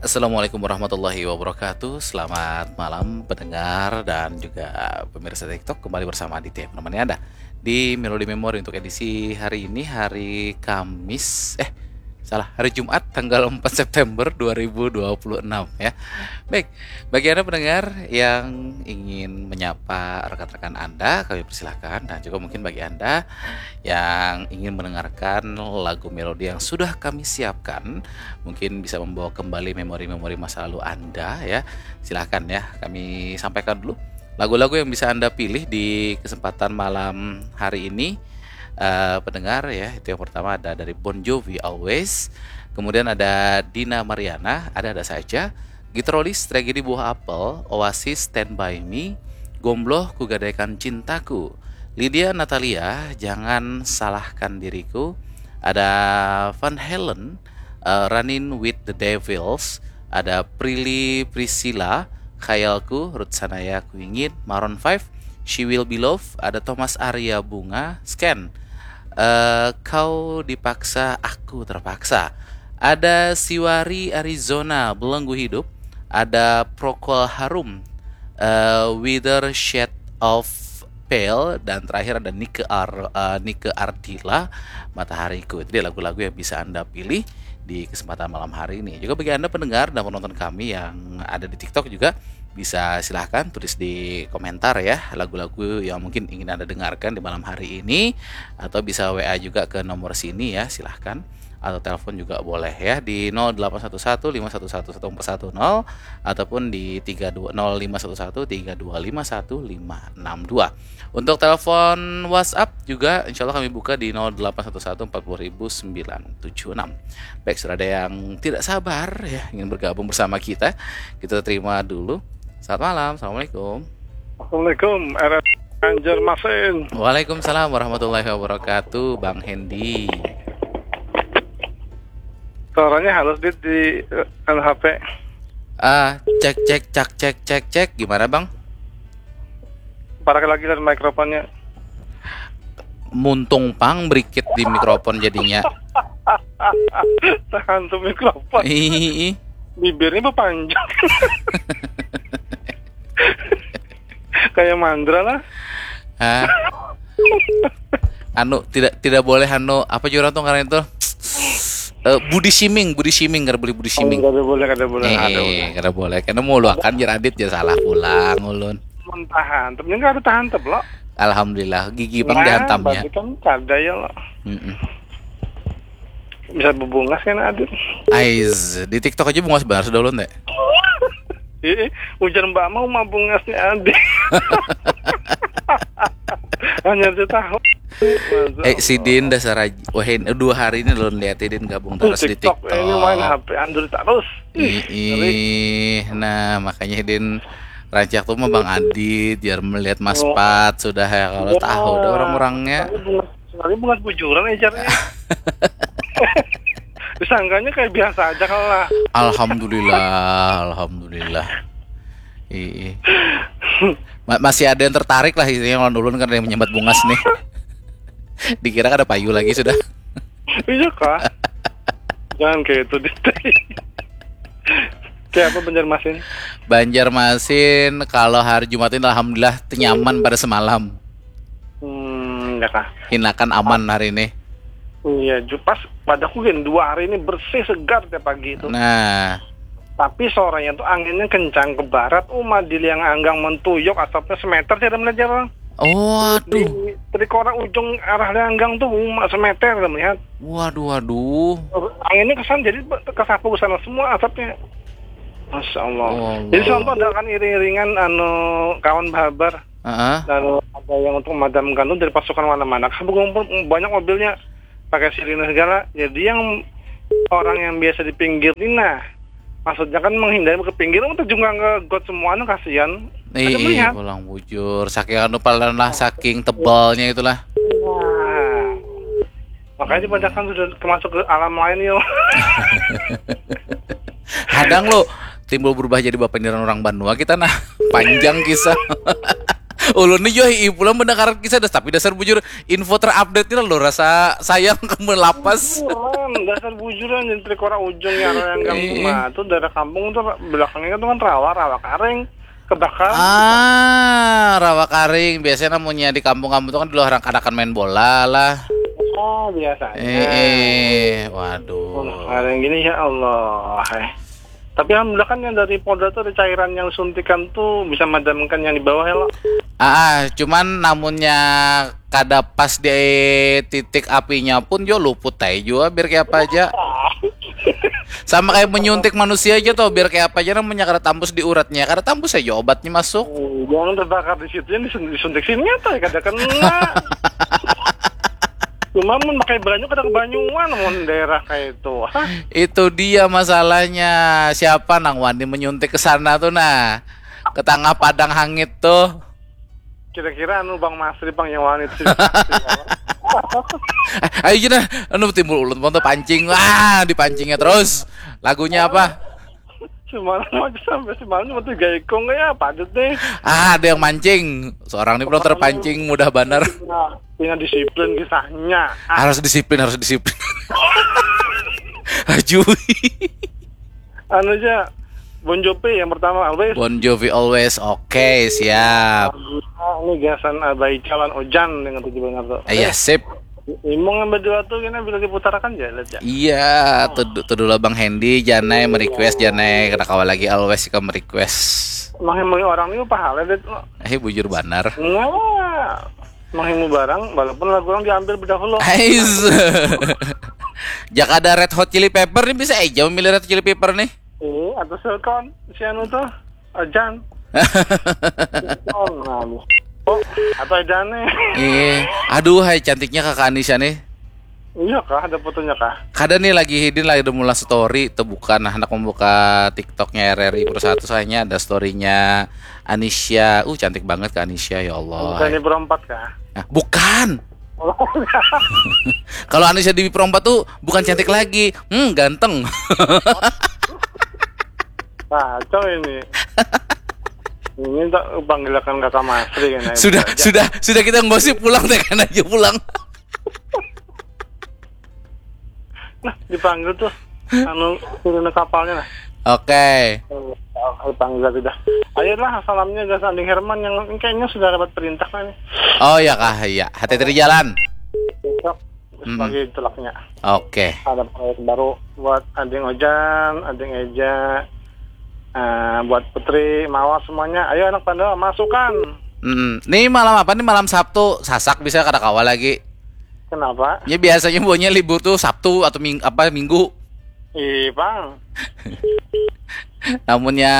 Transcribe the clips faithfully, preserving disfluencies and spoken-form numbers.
Assalamualaikum warahmatullahi wabarakatuh. Selamat malam pendengar dan juga pemirsa TikTok, kembali bersama Aditya menemani Anda di Melody Memory untuk edisi hari ini, hari Kamis, eh salah, hari Jumat tanggal empat September dua ribu dua puluh enam ya. Baik, bagi Anda pendengar yang ingin menyapa rekan-rekan Anda, kami persilahkan, dan juga mungkin bagi Anda yang ingin mendengarkan lagu melodi yang sudah kami siapkan, mungkin bisa membawa kembali memori-memori masa lalu Anda ya. Silahkan ya, kami sampaikan dulu lagu-lagu yang bisa Anda pilih di kesempatan malam hari ini. Eh, pendengar ya, itu yang pertama ada dari Bon Jovi, Always. Kemudian ada Dina Mariana, Ada-Ada Saja. Gitrolis, Tragedi Buah Apel. Oasis, Stand By Me. Gombloh, Kugadaikan Cintaku. Lydia Natalia, Jangan Salahkan Diriku. Ada Van Halen, eh, Running with the Devils. Ada Prilly Priscilla, Khayalku. Ruth Sahanaya, Kuingin. Maroon five, She Will Be Love. Ada Thomas Arya Bunga, Scan. Eh, Kau Dipaksa, Aku Terpaksa. Ada Siwari Arizona, Belenggu Hidup. Ada Procol Harum, eh, Wither Shade of Pale. Dan terakhir ada Nike Ar-, eh, Nike Ardilla, Matahariku. Itu dia lagu-lagu yang bisa Anda pilih di kesempatan malam hari ini. Juga bagi Anda pendengar dan penonton kami yang ada di TikTok juga, bisa silahkan tulis di komentar ya, lagu-lagu yang mungkin ingin Anda dengarkan di malam hari ini, atau bisa W A juga ke nomor sini ya, silahkan. Atau telepon juga boleh ya, di nol delapan satu satu lima satu satu satu empat satu nol, ataupun di tiga dua, nol lima satu satu tiga dua lima satu lima enam dua. Untuk telepon WhatsApp juga, insya Allah kami buka di nol delapan satu satu empat puluh ribu sembilan tujuh enam. Baik, sudah ada yang tidak sabar ya, ingin bergabung bersama kita. Kita terima dulu. Selamat malam, assalamualaikum. Assalamualaikum, R S Banjarmasin. Waalaikumsalam warahmatullahi wabarakatuh, Bang Hendy. Suaranya halus, Dit, di, eh, anu, H P. Ah, cek, cek, cak, cek, cek, cek. Gimana, Bang? Parak lagi dari mikrofonnya. Muntung pang berikit di mikrofon jadinya. Tahan tuh mikrofon. Ih, Bibirnya berpanjang. Kayak mandra lah. Hah? Anu, tidak, tidak boleh, anu, apa juga orang tuh ngaran itu? Eh, body shaming, body shaming, kada boleh body shaming. Kada boleh, kada boleh, Eh, kada boleh. Eh, kada boleh. Karena mau luakan jar Adit, jar salah pulang ulun. Mentahan, tapi nggak ada tahan teblo. Alhamdulillah, gigi bang dihantamnya. Berarti kan kada ya lo. Mm-mm. Bisa bebungas kan, Adit? Ais, di TikTok aja bungas banar sudah ulun teh. Ih, ujar Mbak mau mah bungasnya, Adit. Hanya dia tahu. Eh, sidin dasar aja. Wah, ini dua hari ini ulun lihat sidin gabung terus di TikTok. Ini main H P Android terus. Ih, ih, nah makanya sidin rancak tuh mah Bang Adit, biar melihat Mas Oh. Pat sudah ya, kalau Ya. tahu dah orang-orangnya. Sekali bungas bujuran, ejarnya. Disangkanya kayak biasa aja kalau lah. Alhamdulillah, alhamdulillah. Ih, ih. Ma- masih ada yang tertarik lah, intinya, lawan ulun kan yang menyambat bungas nih. Dikira kada payu lagi sudah. Iya kah? Jangan kayak itu, Dit. Kayak apa Banjarmasin? Banjarmasin kalau hari Jumat ini alhamdulillah tenyaman pada semalam. Hmm, ya kah? Hinakan aman hari ini. Iya, ju- pas padaku gin dua hari ini bersih segar tiap pagi itu. Nah, Tapi sorenya tuh anginnya kencang ke barat, uma di Liang Anggang mentuyuk, asapnya semeter, saya melihat orang. Di waduh. Trikora ujung arah Liang Anggang tuh uma semeter, saya melihat. Waduh, waduh. Anginnya kesan jadi be- kesapu ke sana semua asapnya. Masya Allah. Oh, Allah. Jadi semalam tuh ada kan iring-iringan anu kawan bahabar. Heeh. Lalu ada yang untuk memadamkan tuh dari pasukan mana-mana. Kan banyak mobilnya pakai sirine segala. Jadi yang orang yang biasa di pinggir ini, nah, maksudnya kan menghindari ke pinggir, untuk jungkang ke got semua, anu, kasihan. Ada Ih, melihat. Pulang bujur. Saking anu palan lah, saking tebalnya itulah. Nah, makanya dibacakan sudah termasuk ke alam lain yo. Kadang lo timbul berubah jadi bapandiran orang banua kita, nah. Panjang kisah. Ulun ni jua hiih pulang mendengar kisah das, tapi dasar bujur info terupdate ni lo rasa sayang kamu lapas. Bujuran, dasar bujuran, nyentrik orang ujung yang orang kampung. Iya. Nah, tuh daerah kampung tuh belakangnya tuh kan rawa, rawa karing, kebakaran. Ah, rawa karing. Biasanya namunnya di kampung-kampung tuh kan dulu orang kanakan main bola lah. Oh, biasanya. Eh, eh. Waduh. Orang gini ya Allah. Eh. Tapi alhamdulillah kan yang dari Polda tuh ada cairan yang suntikan tuh bisa madamkan yang di bawah ya lo. Ah, ah, cuman namunnya kada pas di titik apinya pun jo luput aja jua biar kayak apa aja. Sama kayak menyuntik manusia aja tuh biar kayak apa aja namanya kada tambus di uratnya, kada tambus aja obatnya masuk. Oh, jangan terbakar di situ yang disuntik sini apa ya kada kena. Cuma mun pakai banyu kada kebanyuan mun daerah kayak itu. Hah? Itu dia masalahnya. Siapa nang wani menyuntik ke sana tuh nah? Ke tengah padang hangit tuh. Kira-kira anu Bang Masri Bang yang wani itu. Ayo kita anu timbul ulun pun tuh pancing. Wah, dipancingnya terus. Lagunya apa? Semalam aja sampai semalam cuma tiga ikung ya padat deh. Ah, ada yang mancing. Seorang ini belum terpancing mudah banar. Nah, punya disiplin kisahnya. Ah. Harus disiplin, harus disiplin. Ajui. Anu aja Bon Jovi yang pertama always. Bon Jovi always. Oke, okay, siap. Ini gasan Abai Calon Ojan dengan tujuh benar tuh. Iya, eh, sip. Imung yang berdua tuh kena bila diputarakan aja lihat ya. Iya, tuh tuh dulu Bang Hendy, Janai merequest, Janai kada kawa lagi always ikam merequest. Mengimung orang ini pahala deh. Eh bujur banar. Enggak. Mengimung barang walaupun lagu orang diambil berdahulu. Ais. Jaka ada Red Hot Chili Pepper nih bisa aja memilih Red Hot Chili Pepper nih. Iya, atau Selton si anu tuh. Ajan. Oh, atau Ajan nih. Iya. Aduh, hai cantiknya kakak Anisha nih. Iya kah, ada fotonya kah? Kada nih lagi hidin lagi udah mulai story, tuh bukan nah, hendak membuka TikToknya R R I Pro satu soalnya ada storynya Anisha. Uh, cantik banget kak Anisha, ya Allah. Bukan ini Pro empat kah? Nah, bukan. Oh, kalau Anisha di Pro empat tuh bukan cantik lagi, hmm ganteng. Kacau ini. Ini tak panggilakan kata Masri kan. Sudah, sudah, sudah kita nggak sih pulang deh kan aja pulang. Nah, dipanggil tuh anu turun kapalnya nah. Oke. Okay. Oh, dipanggil tadi dah. Ayolah salamnya ke Sanding Herman yang kayaknya sudah dapat perintah kan. Oh ya kah, iya. Hati-hati di jalan. Besok sebagai mm-hmm. Tulaknya. Oke. Okay. Ada proyek baru buat Ading Ojan, Ading Eja, uh, buat Putri, Mawar semuanya. Ayo anak Pandawa masukan. Hmm. Nih malam apa nih malam Sabtu? Sasak bisa kada kawa lagi. Kenapa? Ya biasanya buahnya libur tuh Sabtu atau ming apa minggu. Ih, bang. Namunnya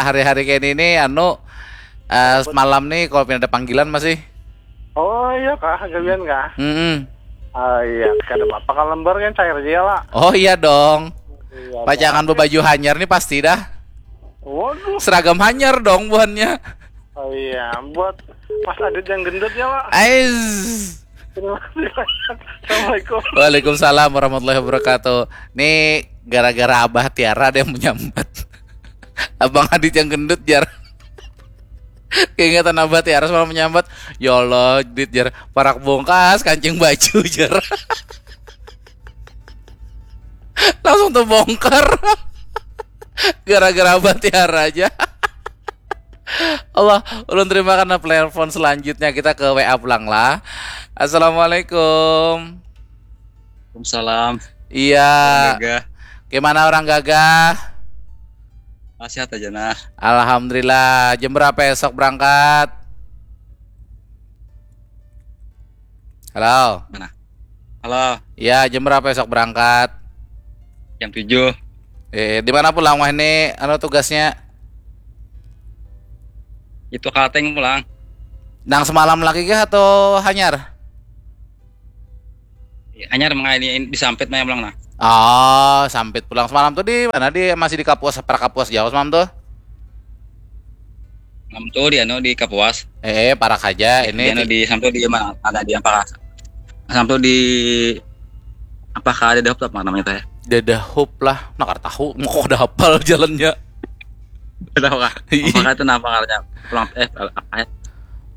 hari-hari kayak ini anu uh, malam nih kalau pindah ada panggilan masih. Oh iya kah, gawian kah? Hmm. Oh iya, kada apa-apa kalau lembar kan cair aja ya lah. Oh iya dong. Iya, Pacangan bebaju hanyar nih pasti dah. Waduh. Seragam hanyar dong buhannya. Oh iya, buat Mas Adit yang gendut ya lah. Ais. Assalamualaikum. Waalaikumsalam warahmatullahi wabarakatuh. Nih gara-gara Abah Tiara ada yang menyambat. Abang Adit yang gendut jar. Keingetan Abah Tiara semalam menyambat, ya Allah, Dit jar, parak bongkas kancing baju jar. Langsung terbongkar. Gara-gara Abah Tiara aja. Allah, ulun terima karena telepon selanjutnya kita ke W A pulang lah. Assalamualaikum. Waalaikumsalam. Iya. Gimana orang gagah? Ah, sehat aja nah. Alhamdulillah. Jam berapa esok berangkat? Halo. Mana? Halo. Ya, jam berapa esok berangkat? Jam tujuh. Eh, di mana pulang wah ini anu tugasnya? Itu Kalteng pulang. Nang semalam lagi kah atau hanyar? Hanyar mengaini di Sampit nah pulang nah. Oh, Sampit pulang semalam tuh di mana di masih di Kapuas, para Kapuas jauh semalam tuh. Semalam tuh di anu di Kapuas. Eh, parak aja ini. Di, anu, di Sampit di mana? Ada di apa? Sampit di apa kah ada dahop apa namanya teh? Dadahup lah, nakar tahu, mau kok ada hafal jalannya. Tahu kah? Iya. Apa itu nama karena pulang eh apa ya?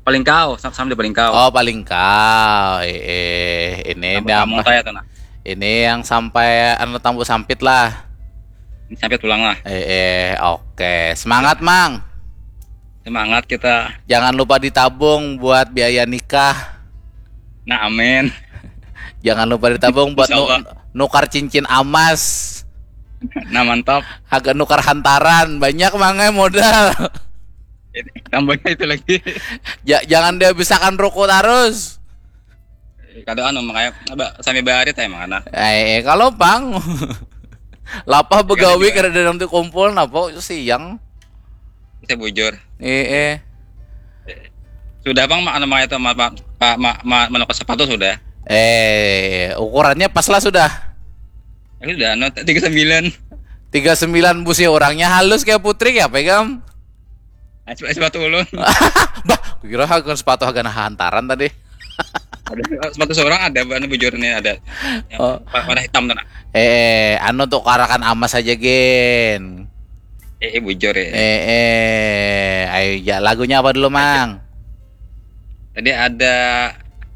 Palingkau, sam- sama di Palingkau. Oh, Palingkau. Eh, eh, ini Kampung dah kampung apa? Saya tuh nah. Ini yang sampai anu tambu sampit lah. Ini sampai pulang lah. Eh, eh, oke. Semangat, Mang. Semangat kita. Jangan lupa ditabung buat biaya nikah. Nah, amin. Jangan lupa ditabung buat Insya nu- Allah. Nukar cincin amas. Nah, mantap. Agak nukar hantaran, banyak mangai modal. Ini, tambahnya itu lagi. Ja- jangan dihabiskan ruko terus. Kada anu makanya apa sambil barit emang anak. Eh, eh, kalau pang lapah begawi kada ada nanti kumpul napa siang. Saya bujur. Eh, eh. Sudah bang, ma- anu makanya itu ma, ma, ma, ma, menukar sepatu sudah. Eh, ukurannya pas lah sudah. Ya sudah, anu tiga sembilan. Tiga sembilan busi orangnya halus kayak putri ya pegang. Ah, sepatu ulun. Bah, kira hagan sepatu hagan hantaran tadi. Ada sepatu seorang ada, anu bujur ini ada. Yang Oh. wa- warna hitam tuh nah. Eh, anu tuh karakan amas aja gen. Eh, eh, bujur ya. Eh, eh, ayo ya lagunya apa dulu mang? Tadi ada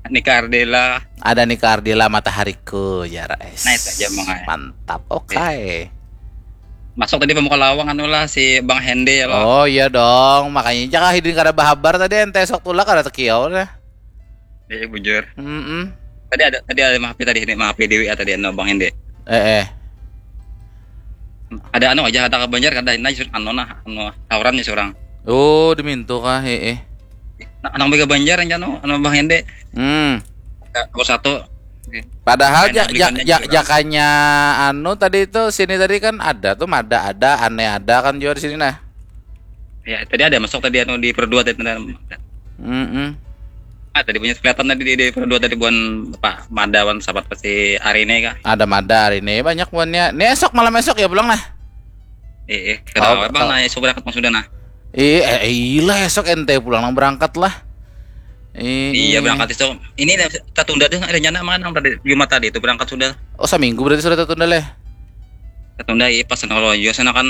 Nika Ardela. Ada Nika Ardila Matahariku ya guys. Nah, itu aja, Mang, ai. Mantap, oke. Masuk tadi pemuka lawang anu lah si Bang Hende ya lo. Oh iya dong, makanya jangan hidin kada bahabar tadi ente esok tulak kada tekiau dah. Eh, bujur. Mm-mm. Tadi ada tadi ada mahapi tadi ini mahapi Dewi ya tadi anu Bang Hende. Eh eh. Ada anu aja kata ke Banjar kada ini anu nah anu tawuran nih seorang. Oh dimintu kah eh eh. Nah, anak bega Banjar yang anu anu Bang Hende. Hmm. Ya, nomor satu. Oke. Padahal Main ja, beli ja, banyak ja, juga. Jakanya anu tadi itu sini tadi kan ada tuh mada ada ane ada kan juga di sini nah. Ya, tadi ada masuk tadi anu di per dua tadi. Mm-mm. Ah, tadi punya kelihatan tadi di, di per dua tadi buan Pak Madawan sahabat pasti hari ini kah? Ada mada hari ini banyak buannya. Ini esok malam esok ya pulang nah. Eh, eh, kada Oh, apa bang oh. Nah, esok berangkat maksudnya nah. Ih, eh, eh, ilah esok ente pulang nang berangkat lah. Ih, Iya ih. Berangkat esok. Ini tertunda tuh rencana mana nang tadi Jumat tadi itu berangkat sudah. Oh seminggu berarti sudah tertunda leh. Tertunda iya pas kalau juga sana kan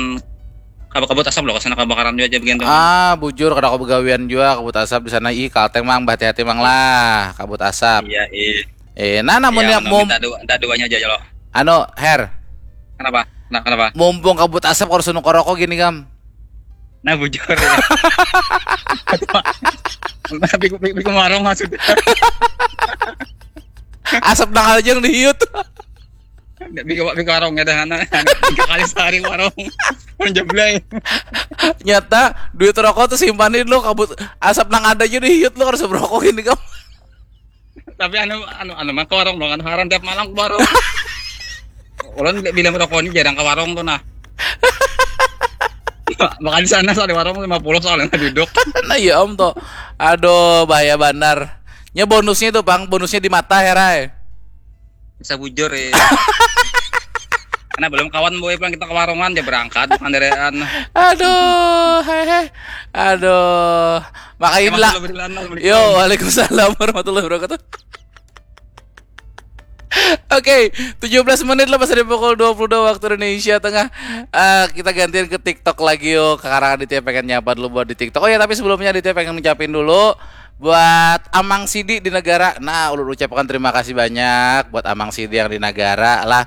kabut kabut asap loh sana kebakaran juga aja begitu. Ah, bujur kada aku begawian juga kabut asap di sana. Ih, kalteng mang hati-hati mang lah kabut asap. Iya iya. Eh, nah namun Ya, ya mum minta dua, minta duanya aja ya lo. Anu, Her, Kenapa? Nah kenapa? Mumpung kabut asap harus nukar rokok gini kam. Nah bujur. Tapi tapi warung maksudnya. Asap nang aja yang dihiut. Ndak bika bika warung ya dah anak. Tiga kali sehari warung. Menjeblay. Nyata duit rokok tuh simpanin lo kabut asap nang ada aja dihiut lo harus berokok gini kam. Tapi anu anu anu mah ke warung dong anu haram tiap malam ke warung. Ulun bila merokok ini jarang ke warung tuh nah. Makan di sana soalnya warung lima puluh soalnya duduk. Nah iya om tuh. Aduh bahaya banar. Nya bonusnya tuh bang, bonusnya di mata herai. Bisa bujur ya. Karena belum kawan boy pulang kita ke warungan dia berangkat bukan derean. Aduh, hehe. Aduh. Makanya Emang lah. belum berkenalan, belum Yo, waalaikumsalam warahmatullahi wabarakatuh. Oke, tujuh belas menit lepas dari pukul dua puluh dua waktu Indonesia Tengah. Eh, kita gantian ke TikTok lagi yo. Sekarang Aditya pengen nyapa dulu buat di TikTok. Oh ya, tapi sebelumnya Aditya pengen ngucapin dulu buat Amang Sidi di negara. Nah, ulun ucapkan terima kasih banyak buat Amang Sidi yang di negara lah.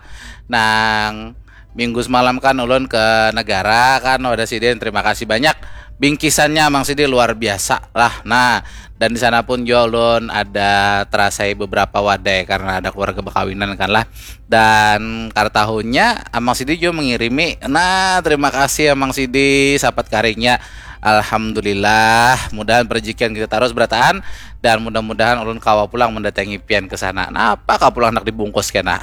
Nang minggu semalam kan ulun ke negara kan ada sidin terima kasih banyak bingkisannya Amang Sidi luar biasa lah. Nah, dan di sana pun juga ulun ada terasai beberapa wadai karena ada keluarga bekawinan kan lah. Dan kar tahunnya Amang Sidi juga mengirimi. Nah, terima kasih Amang Sidi sapat karingnya. Alhamdulillah, mudahan perjikian kita terus berataan dan mudah-mudahan ulun kawa pulang mendatangi pian ke sana. Napa kah pulang nak dibungkus kena?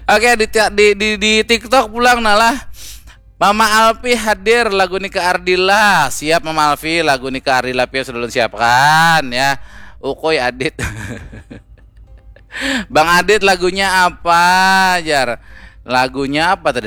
Oke di, ti- di di di TikTok pulang nah lah. Mama Alfi hadir lagu Nika Ardila. Siap Mama Alfi lagu Nika Ardila pian sudah ulun siapkan ya. Ukoi Adit. Bang Adit lagunya apa jar? Lagunya apa tadi?